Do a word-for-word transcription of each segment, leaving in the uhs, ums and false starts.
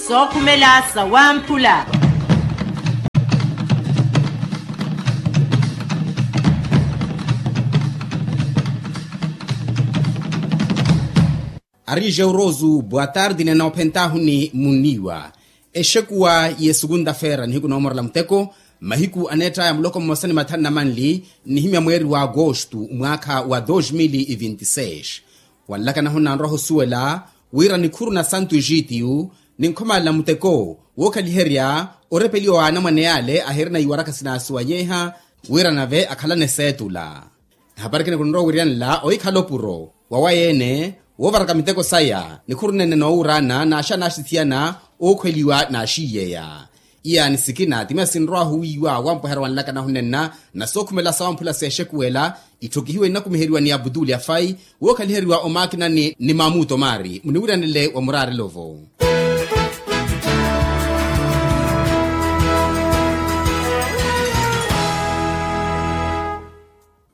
Sookhumela sawamphula. Arije urozu boa tardi nena ophentahuni muniwa. Exekuwa ye sukunta-feera nihiku noomorela muteko mahiku aneettaya muloko mmosa ni mathanu na manli, nnihimya mweeri wa agostu mwaakha wa dos mil e vinte e seis. Wanlakanahu nnanroha osuwela wira nikhuru na santu ejiitiyu ninkhomalela muteko wookhaliherya orepeliwa wa anamwane yaale ahirina iwarakha sinaasuwanyeha wira nave akhalane seetula. Ehapari ekina kunrowa wiriyanela ohikhala opuro wawayeene woovaraka miteko saya nikhuru nene noowuraana naaxaana axithiyana ookhweliwa naaxiiyeya. Iyaani sikina timiya sinrowahu wiiwa wampwehera wanlakanahu nenna na sookhumela sawamphula seexekuwela itthokihiwe nnakumiheriwa ni abutuli afai wookhaliheriwa omaakinani ni mamuto maari muniwiryanele wa muraarelo-vo.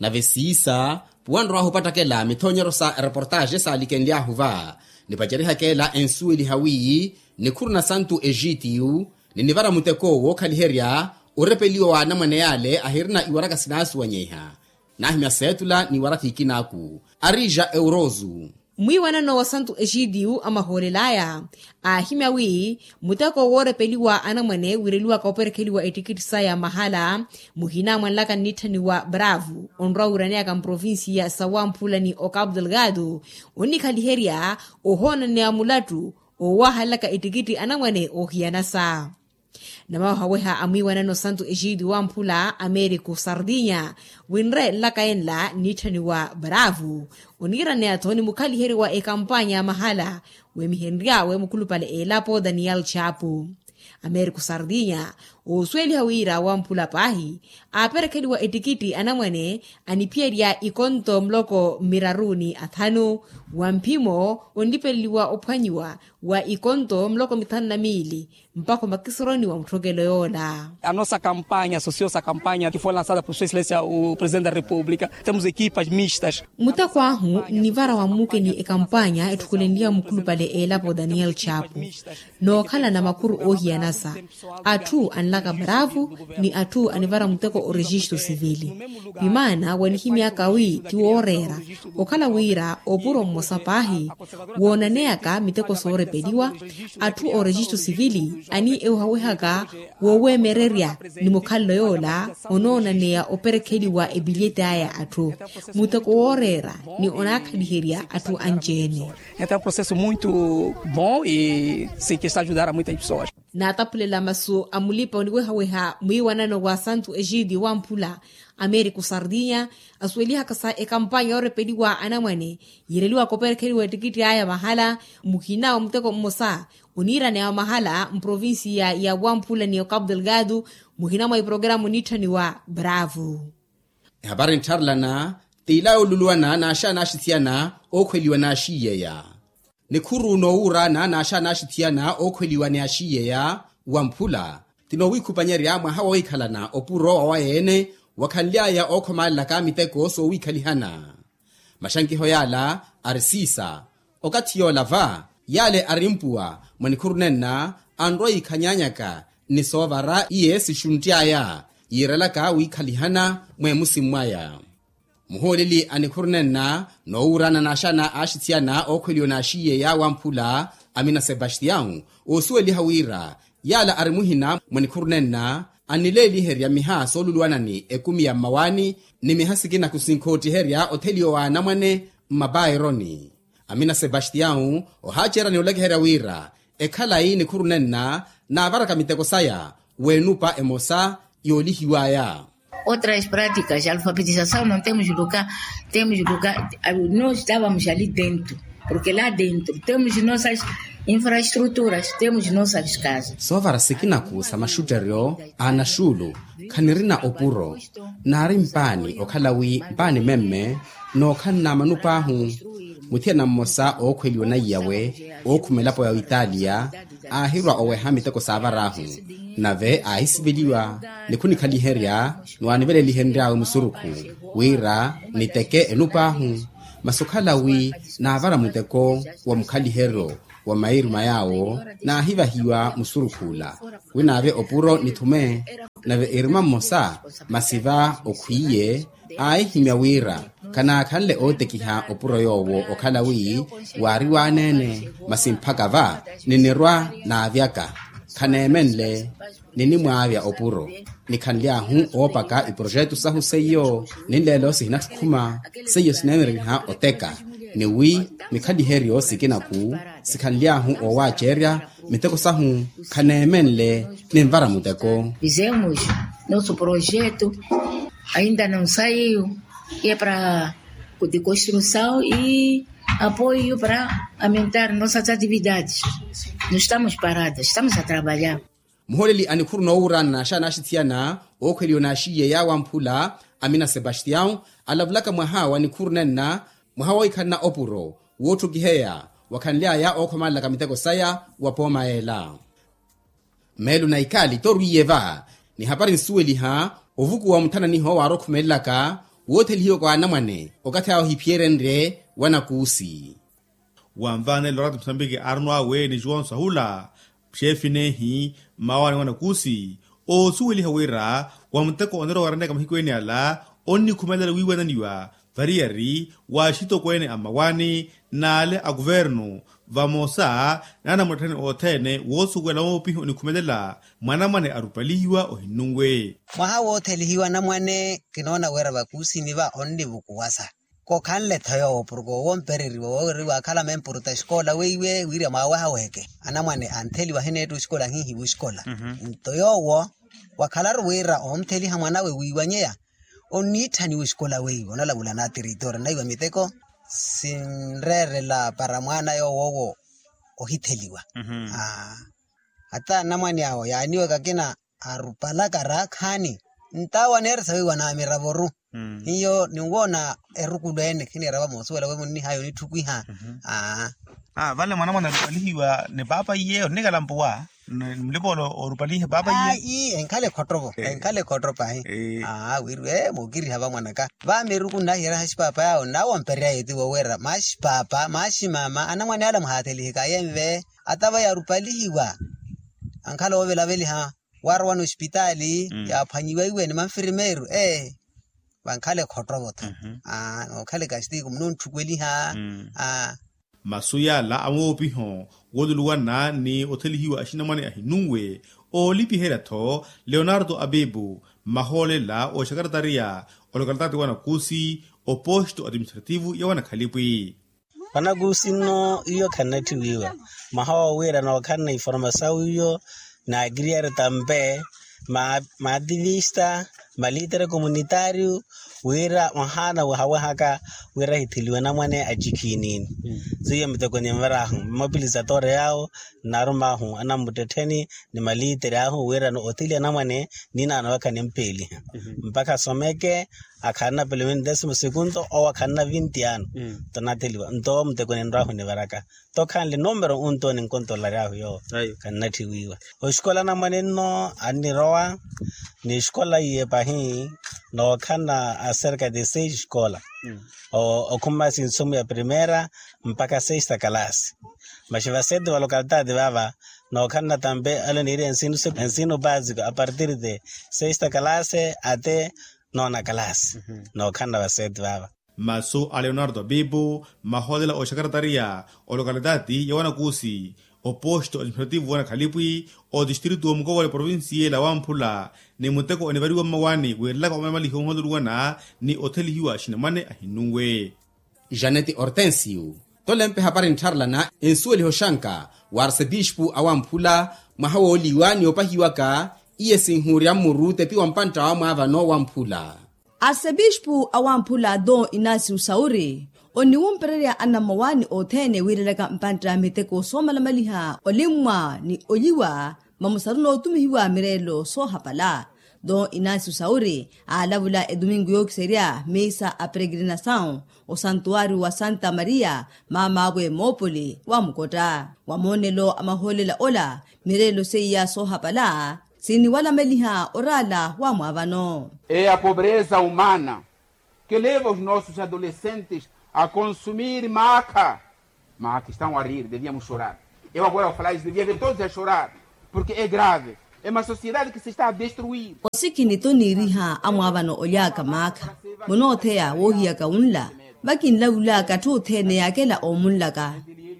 Nave siisa puwanrowahu opattakela mithoonyeryo sa ereportaaxe saalikenly'ahu va nipacerihaka ela ensuweliha wi nikhuru na santu ejiitiyu ninivara muteko wookhaliherya orepeliwa wa anamwane yaale ahirina iwaraka sinaasuwanyeha naahimya seetula n'iwarakha ikinaaku arija eurozu. Mwiiwanano wa santu ejiitiyu amahoolel'aya aahimya wi muteko woorepeliwa anamwane wireliwaka operekheliwa ettikitthi saya mahala muhina mwanlaka nnitthaniwa bravo onrowa wiraneyaka mprovincia sa wamphula ni ocapo delgado onnikhaliherya ohoonaneya mulattu owahalelaka ettikitthi anamwane oohiyanasa. Namawahaweha a mwiiwanano santu ejiitiyu wamphula americo sardinya winre nlaka enla nnitthaniwa bravo oniiraneya-tho ni mukhaliheryo wa ekampanya ya mahala weemihenry'awe mukhulupale eelapo daniel chapo. Americo sardinya oosuweliha wira wamphula paahi aaperekheliwa ettikitthi anamwane aniphiyerya ikonto muloko mmiraruni athanu wa mphimo onlipeleliwa ophwanyiwa wa ikonto muloko mithanu na miili mpakha omakisoroni wa mutthokelo yoola. A nossa campanha associo-se à campanha que foi lançada por sua excelência o presidente da república temos equipas mistas. Muteko ahu nnivara wa mmuke ni ekampanya etthukulenliha mukhulupale eelapo daniel chapo nookhalana makhuru oohiyanasa atthu anlaka bravo ni atthu anivara muteko orejisto sivili. Vimaana wanihimyaka wi ti wooreera okhala wira opuro mmosa paahi woonaneyaka miteko soorepeliwa atthu orejisto sivili ani ewehawehaka wooweemererya ni mukhalelo yoola onoonaneya operekheliwa epilyeti aya atthu muteko wooreera ni onaakhaliherya atthu anci-ene. Então é um processo muito bom e sim que está a ajudar a muitas pessoas. Naataphulela masu a mulipa oniwehaweha mwiiwanano wa santu ejiitiyu wamphula americo sardinya asuwelihaka sa ekampanya yoorepeliwa anamwane yiireliwaka operekheliwa ettikitthi aya mahala muhina wa muteko mmosa oniiraneya wa mahala mprovincia ya wamphula ni ocapo delgado muhina mwa iprograma onitthaniwa bravo. Ehapari nttharelana t'ila yooluluwana n'axaana axithiyana ookhweliwa n'axiiyeya. Nikhuru noowuuraana n'axaana axithiyana ookhweliwa ni axiiyeya wamphula ti noowiikhupanyerya mwaha woohikhalana opuro wawaye-ene wakhanly'aya ookhomalelaka miteko soowiikhalihana. Maxankiho yaala ari siisa okathi yoola va yaale ari mpuwa mwa nikhuru nenna anrowa yiikhanyanyaka ni soovara iye sixuntti aya yiirelaka wiikhalihana mweemusi mwaya. Muhooleli a nikhuru nenna noowuurana n'axaana axithiyana ookhweliwa n'axiiyeya wamphula amina sebastião oosuweliha wira yaala ari muhina mwa nikhuru nenna annileeliherya miha sooluluwana ni ekumi ya mmawaani ni miha sikina kusinkoottiherya otheliwa wa anamwane mmapaironi. Amina sebastião ohaacerya ni olakiherya wira ekhalayi nikhuru nenna naavaraka miteko saya w'enupa emosa yoolihiw'aya. Outras práticas de alfabetização não temos lugar, temos lugar, nós estávamos ali dentro porque lá dentro temos nossas infraestruturas, temos nossas casas. Soovara sikinaku sa maxutteryo a anaxuulu khanirina opuro naari mpaani okhala wi mpaani memme nookhanna manup'ahu. Muthiyana mmosa ookhweliwa na iyawe ookhuma elapo ya oitalia aahirwa oweha miteko saavar'ahu nave aahisiveliwa ni khunikhaliherya ni waanivelelihenry'awe musurukhu wira niteke enup'ahu masi okhala wi naavara muteko wa mukhaliheryo Wa mairuma yaawo naahivahiwa musurukhu ola, wi naave opuro nithume. Nave iruma mmosa masi va okhwiiye aahihimya wira khanaakhanle ootekiha opuro yoowo okhala wi waari waaneene. Masi mphaka va ninirwa naavyaka khaneemenle ninimwaavya opuro. Nikhanly'ahu oopaka iprojetu sahu seiyo ninleelo sihinattukhuma. Seiyo sineemereriha oteka ni wi mikhaliheryo sikinaku sikhanly'ahu oowaacerya miteko sahu khaneemenle. Ninvara muteko. Fizemos nosso projeto ainda não saiu, é para de construção e apoio para aumentar nossas atividades. Não estamos parados, estamos a trabalhar. Muholeli a nikhuru noowuurana naaxaana axithiyana ookhweliwa naaxiiye yaawamphula amina sebastião alavulaka mwaha wa nikhuru nenna mwaha woohikhanana opuro wootthukiheya wakhanly'aya ookhomalelaka miteko saya wa pooma yeela. Meelo na ikaali torwiiye va ni hapari nsuweliha ovukuwa muthananiho waari okhumelelaka woothelihiwaka wa anamwane okathi awe ohiphiyerenrye wa nakuusi. Wanvaanela orati musambiki aarino awe ni juwonso ahula xeefi neehi mmawaani wa nakuusi oosuweliha wira wa muteko oneera owaraneyaka mahiku ene ala onnikhumelela wiiwananiwa variyari wa axitokweene a mmawaani n'ale a kuvernu vamosa n'anamuttettheni othene woosuwela woopiha onikhumelela mwanamwane arupalihiwa ohinnunwe. Mwaha woothelihiwa anamwane kinoona wira vakuusini va onnivukuwasa. Kokhanle-tho yoowo porke owo ompereriwa woowiri waakhala mempuruta exikola weiwe wirya mwaawehaweheke anamwane antheliwa ahineetta oxikola ahihiwa oxikola. Nto yoowo wakhalaru wira ontheliha mwanawe wiiwanyeya onniitthaniwa oxikola weiwe onalavula na tiritoori naiwa miteko sinreerela para mwaana yoowo owo ohitheliwa. Ata anamwane awo yaaniwaka akina arupalaka raakhaani ntawo aneeresa weiwa na miravoru. Hiyo ninwoona erukulu ene khiniira vamoosuwela we munnihaya onitthukiha. Aa. Vale mwanamwane arupalihiwa ni paapa iye onnikala mpuwa ni mulipa ole orupalihe paapa iye. Enkhala ekhottovo enkhala ekhotto pahi. Aa wiriwe mookiriha vamwanaka vameeruku nnahiyereha axipaapa yaawo nnawo ompereryaya etiwo wira maxi paapa maxi maama anamwane ala muhaathelihikaya enve. Ata vaya arupalihiwa ankhala oovelaveliha waarowa n'oxipitaali yaaphwanyiwa iwe ni manfirimeeru ee. Vankhala ekhottovo-tho aa nookhala ekastiko munoontthukeliha. Aa. Masu yaala a moopiho wooluluwana ni othelihiwa axinamwane ahinunwe oolipiherya-tho leonarto abibu mmahoolela ooxakaratariya olokalitaati wa nakuusi oposto administrativu ya wanakhalipwi. Vanakuusi nno iyo khannatthiwiiwa mwaha woowiira nookhanna informasawu iyo naakiriyari tampe maativista malitere komunitaariyu wira mwahaana wahawehaka wira ahitheliwe anamwane acikhiiniini. Seiyo miteko ninvar'ahu mmapilizatoore yaawo nnarum'ahu anammuttettheni ni malitere ahu wirano otheliha anamwane ninaano wakha nimpeeliha mpakha asomeke akhanna pelo vinti desimo sekunto owo akhanna vinti ano. Nto natheliwa nto muteko ninrw'ahu nivaraka nto khanle numero unto ninkontolaryahu yoowo. Khannatthiwiiwa oxikola anamwane nno annirowa ni exikola iye pahi nookhanna acerca de seis escola okhuma sinsumu ya primera mpakha sexta kalasi. Maxi vasete va lokalitaati vaava nookhanna tampe ale niiri ensino basiko apartir de sexta kalasi ate nona kalasi. Nookhanna vasete vaava. Masu a leonardo abibu mmahoolela ooxakaratariya olokalitaati ya wanakuusi oposto administrativu wa nakhalipwi otistritu wa mukowale provincia la wamphula ni muteko onivariwa mmawaani wiirelaka omalamalihi ohoololuwana ni othelihiwa axinamwane ahinunwe. Janeti hortensio tolempe hapari nttharelana ensuweliha oxanka wa arsepispu awamphula mwaha wooliwa ni opahiwaka iye sinhuurya mmuru tepi wa mpantta wa mwaavano wamphula. Arsepispu awamphula don inasio sauri oniwumpererya anammawaani othene wiirelaka mpantta miteko soomalamaliha olimmwa ni oliwa mamusaruna otumihiwa mireelo soohapala. Don inasio sauri aalavula etumingu yookiserya misa a peregrinasawu osantuwari wa santa maria maamaawe moopoli wa mukotta wa moonelo a mahoolela ola mireelo seiya soohapala siniwalameliha oraala wa mwaavano. É a pobreza humana que leva os nossos adolescentes a consumir maca. Maca estão a rir deviamos chorar. Eu agora ao falar isso devia ver todos a chorar, porque é grave. É uma sociedade que se está a destruir. Osikini toniiriha amwaavano oly'aka maakha, munootheya woohiyaka wunla. Vakinlavul'aka atthu othene yaakela oomunlaka,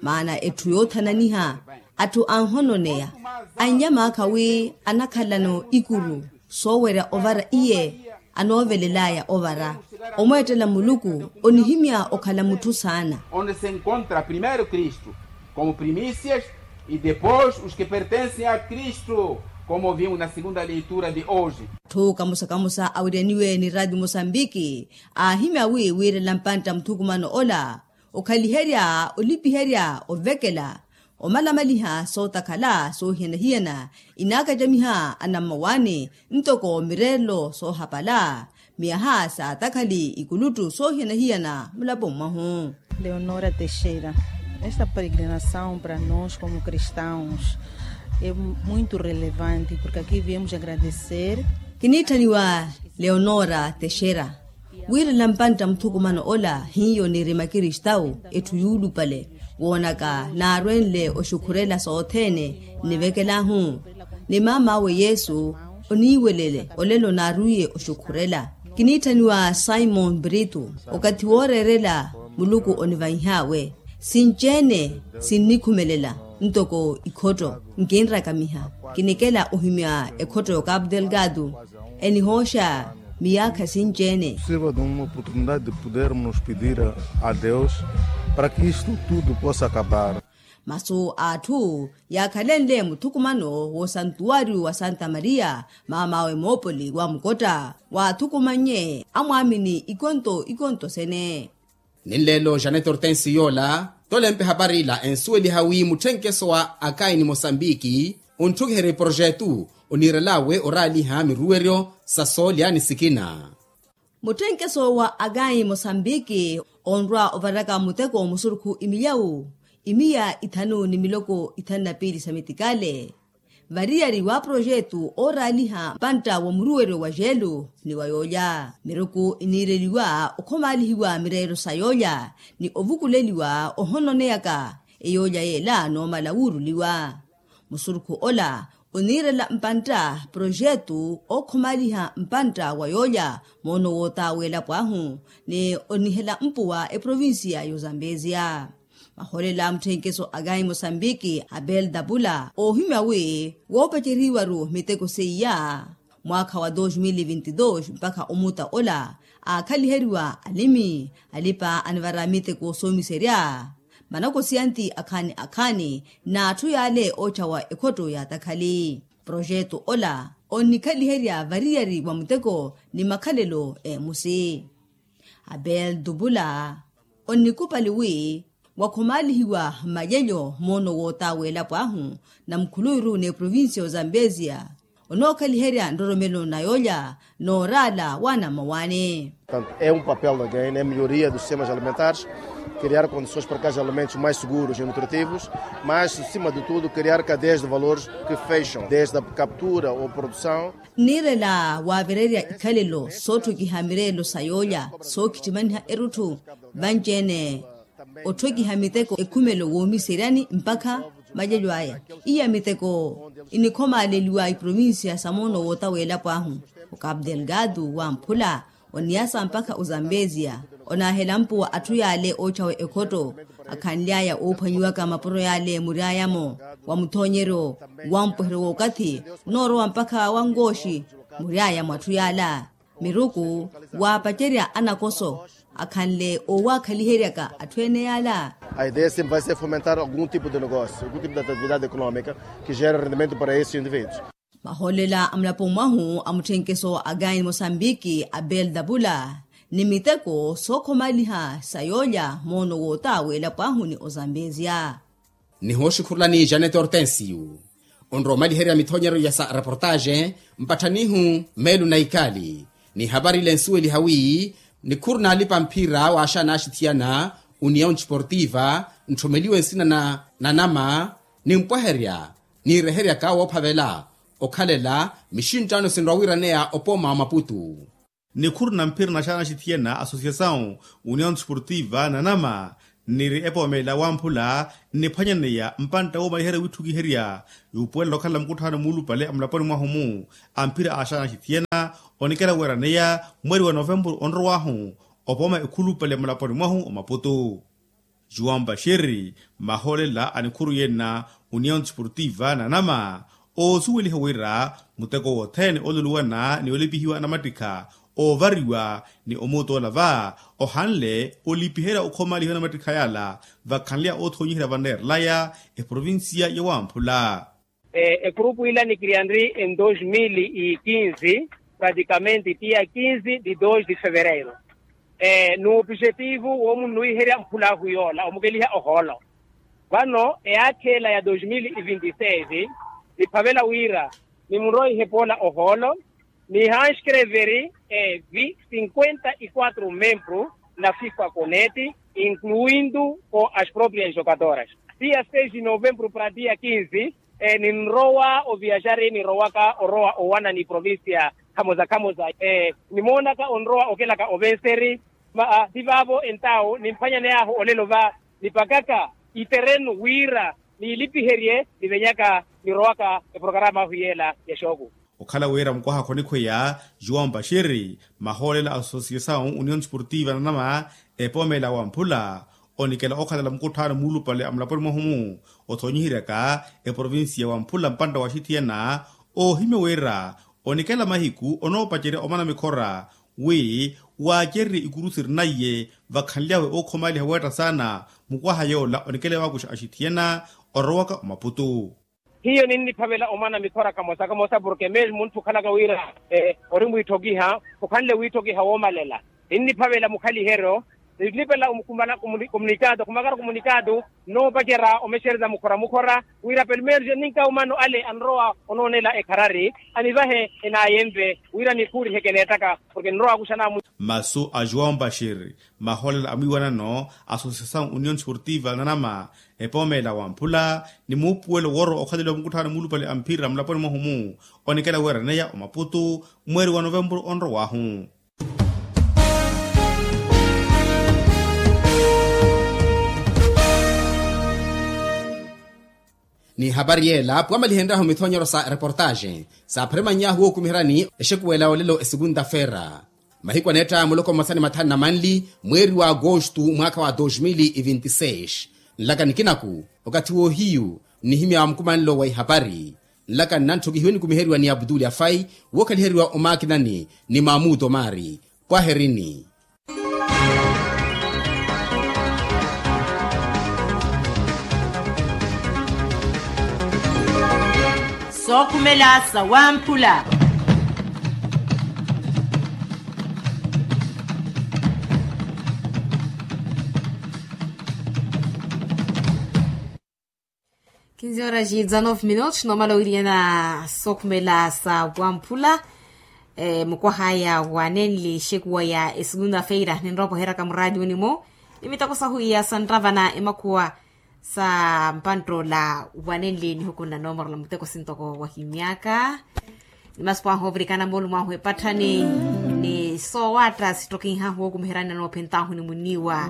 maana etthu yoothananiha atthu anhononeya, anlya maakha wi anakhalano ikuru soowerya ovara iye anoovelel'aya ovara. Omweettela muluku onihimya okhala mutthu saana. Onde se encontra primeiro kristu como primícias, e depois os que pertencem a kristu, como vimos na segunda leitura de hoje. Atthu kamusa-kamusa awiryaniwe ni raati musambiki aahimya wi wiirela mpantta muthukumano ola okhaliherya olipiherya ovekela omalamaliha sootakhala soohiyana-hiyana inaakacamiha anammawaani ntoko mireerelo soohapala miyaha saatakhali ikuluttu soohiyana-hiyana mulaponi mwahu. Leonora texera, esta peregrinação para nos como cristãos é muito relevante porque aqui viemos agradecer. Kiniitthaniwa leonora texera, wiirela mpantta muthukumano ola hiyo niirima kristawu etthu yuulupale woonaka naarwenle oxukhurela sothene nnivekel'ahu ni maam'awe yesu oniiwelele olelo naarwiiye oxukhurela. Kiniitthaniwa simon brito, okathi wooreerela muluku onivanyih'awe sinci-ene sinnikhumelela ntoko ikhotto nkinrakamiha kinikela ohimya ekhotto y'okapu delgado enihooxa miyaakha sinci-ene. Sirva de uma oportunidade de podermos pedir a deus para que isto tudo possa acabar. Masu a atthu yaakhalenle muthukumano w'osantuwariyu wa santa maria maam'awe moopoli wa mukotta waathukumannye amwaamini ikonto ikonto sene. Ninleelo janete hortensi yoola tolempe hapari ila ensuweliha wi mutthenkeso wa akayi ni mosambiki ontthukiherya eprojetu oniirel'awe oraaliha miruweryo sa soolya ni sikina. Mutthenkeso wa akayi mosambiki onrwa ovaraka muteko musurukhu imilyawu imiya ithanu ni miloko ithanu na piili sa mitikale variyari wa projetu ooraaliha mpantta wa muruweryo wa jeelu ni wa yoolya miruku iniireliwa okhomaalihiwa mireero sa yoolya ni ovukuleliwa ohononeyaka eyoolya yeela noomala wuuruliwa. Musurukhu ola oniirela mpantta projetu ookhomaaliha mpantta wa yoolya moono wootaweela pwaahu ni onihela mpuwa eprovincia y'ozambesia. Mahoolela a mutthenkeso a kayi mosambiki abel dapula oohimya wi woopaceriwaru miteko seiya mwaakha wa dos mil e vinti dos mpakha omuta ola aakhaliheriwa alimi alipa anivara miteko soomiserya manakosiyanti akhaani akhaani n'atthu yaale ootthawa ekhotto yaatakhali. Projetu ola onnikhaliherya variyari wa muteko ni makhalelo eemusi. Abel dupula onnikupali wi wakhomaalihiwa mmalyelyo moono wootaweela pwaahu na mukhuluuru n'eprovincia y'ozambesia onookhaliherya nroromelo na yoolya nooraala waana mmawaani. Portanto é um papel da gaina é melhoria dos sistemas alimentares, criar condições para que haja alimentos mais seguros e nutritivos, mas acima de tudo criar cadeias de valores que fecham desde a captura ou produção. Nniirela waavererya ikhalelo sootthukiha mireelo sa yoolya sookhittimaniha erutthu vanci-ene otthokiha miteko ekhumelo woomiseryani mpakha malyelyo aya. Iya miteko inikhomaaleliwa iprovincia sa moono wootaweela pwaahu okapu delgado wamphula oniyasa mpakha ozambesia onaahela mpuwa atthu yaale ootthawa ekhotto akhanly'aya oophwanyiwaka mapuro yaale mury'aya-mo wa muthoonyeryo wampweheryo w'okathi noorowa mpakha wankooxi mury'aya mw'atthu yaala miruku waapacerya anakoso akhanle oowaakhaliheryaka atthu ene yaala. A ideia sempre vai ser fomentar algum tipo de negócio, algum tipo de atividade econômica que gera rendimento para esses indivíduos. Mahoolela a mulaponi mwahu a mutthenkeso a kaini mosambiki abel dapula ni miteko sookhomaliha sa yoolya moono wootaweela pwaahu ni ozambesia. Nihooxikhurulani janete hortensio onrowa omaliherya mithoonyeryo ya sa reportaxe mpatthanihu meelu na ikali ni hapari ile nsuweliha wi nikhuru naalipa mphira waaxaana axithiyana union desportiva ntthommeliwe nsina na nanama nimpweherya niireheryaka woophavela okhalela mixinttaano sinrowa wiiraneya opooma wa maputu. Nikhuru na mphira naxaana axithiyana associasawu union desportiva nanama Nniri epoomela wamphula nniphwanyaneya mpantta woomaliherya witthukiherya yuupuwelela okhalela mukutthano muulupale a mulaponi mwahu-mu a mphira a axaana axithiyana, onikela weeraneya mweeri wa novempuru onrow'ahu opooma ekhulupale a mulaponi mwahu omaputu. Juwampa xiri mahoolela a nikhuru yenna, union desportiva nanama oosuweliha wira muteko wothene ooluluwana ni olipihiwa anamattikha oovariwa ni omuutola va ohanle olipiherya okhomaalihiwa anamattikha yala vakhanleya oothoonyiherya vanneerelaya eprovincia ya wamphula. Ekhurupu ila nikiriyanri en dos mil e quinze, praticamente tia quinze de dos de fevereiro, n'opijetivu woomunnuwiherya mphulaahu yoola omukeliha ohoolo. Vano eyaakheela ya dos mil e vinte e seis niphavela wira nimunrowa ihepoola ohoolo, nihanskreveri evi cinquenta e quatro membru na fifa coneti, incluindu ko as proprias jogadoras. Tia seis de novembru para tia quinze, ninrowa oviaxari nirowaka orowa owana ni provincia khamoza khamoza. Nimoonaka onrowa okelaka ovenseri, ma ti vaavo entawo nimphwanyaney'ahu olelo va nipakaka iterenu wira niilipiherye nivenyaka nirowaka eporokaram'ahu yeela ya xooku. Okhala wira mukwaha khonikhweya juwampa xiri mahoolela a associasawu union desportiva nanama epoomela wamphula onikela okhalela mukutthano muulupale a mulaponi mwahu-mu othoonyiheryaka eprovincia wamphula mpantta wa axithiyana, oohimya wira onikela mahiku onoopacerya omana mikhora wi waacererye ikuru sirina iye vakhanlyawe ookhomaaliha weetta saana. Mukwaha yoola onikela waakuxa axithiyana orowaka omaputu. Hiyo ninniphavela omana mikhora kamosa kamosa porke mesmo munthu okhalaka wira ori mwiitthokiha okhanle wiitthokiha woomalela, ninniphavela mukhaliheryo nilipela komunikatu khumaka komunikatu nnoopacerya omexereza mukhora mukhora wira pelmeerjo ninka omano ale anrowa onoonela ekharari anivahe enaayemve wira nikhuuriheke neettaka porke nrowa akuxana. Masu a juwampa xiri mahoolela a mwiiwanano associasawu union desportiva nanama epoomela wamphula ni muupuwelo woorowa okhaleliwa mukutthano muulupale a mphira mulaponi mwahu-mu onikela weeraneya omaputu mweeri wa novempuru onrow'ahu. Ni hapari yeela pwamalihenryahu mithonyero sa reportaxe saapheremannyahu wookumiheryani exekuwela olelo esekunta-feera mahiku aneetta muloko mmosa ni mathanu na manli mweeri wa agostu mwaakha wa dos mil e vinte e seis. Nlaka nikinaku okathi woohiyu nnihimya wa mukumanlo wa ihapari. Nlaka nnantthokihiwe nikumiheriwa ni abutuli afai wookhaliheriwa omaakinani ni maamuto maari. Pwaherini. Sookhumela sa wamphula. Kinzi horas e dezanove minutos noomala owiryana sookhumela sa wamphula. Mukwahaya wa nenli exekuwa ya esegunda feira ninrowa opoheraka muraadi onimu ni miteko sahu iya santravana emakhuwa sa mpanttoola wa nenli nihuku nna noomorola muteko sintoko wahimyaka. Ni masipo ahu ovirikana moolumo ahu epatthani ni soowaatta sittokinhahu wookumiheryani anoophent'ahu ni munniwa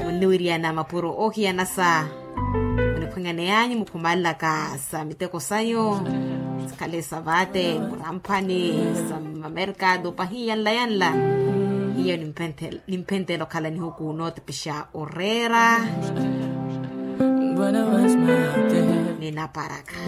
munniwiryana mapuro oohiyanasa oniphweng'aneyanyu mukhumalelaka sa miteko sanyu sikhale sa vaate muramphani sa mamerkado pahiya nla ya nla. Hiyo nimphenthela okhala nihuku nootepexa oreera ninaparaka.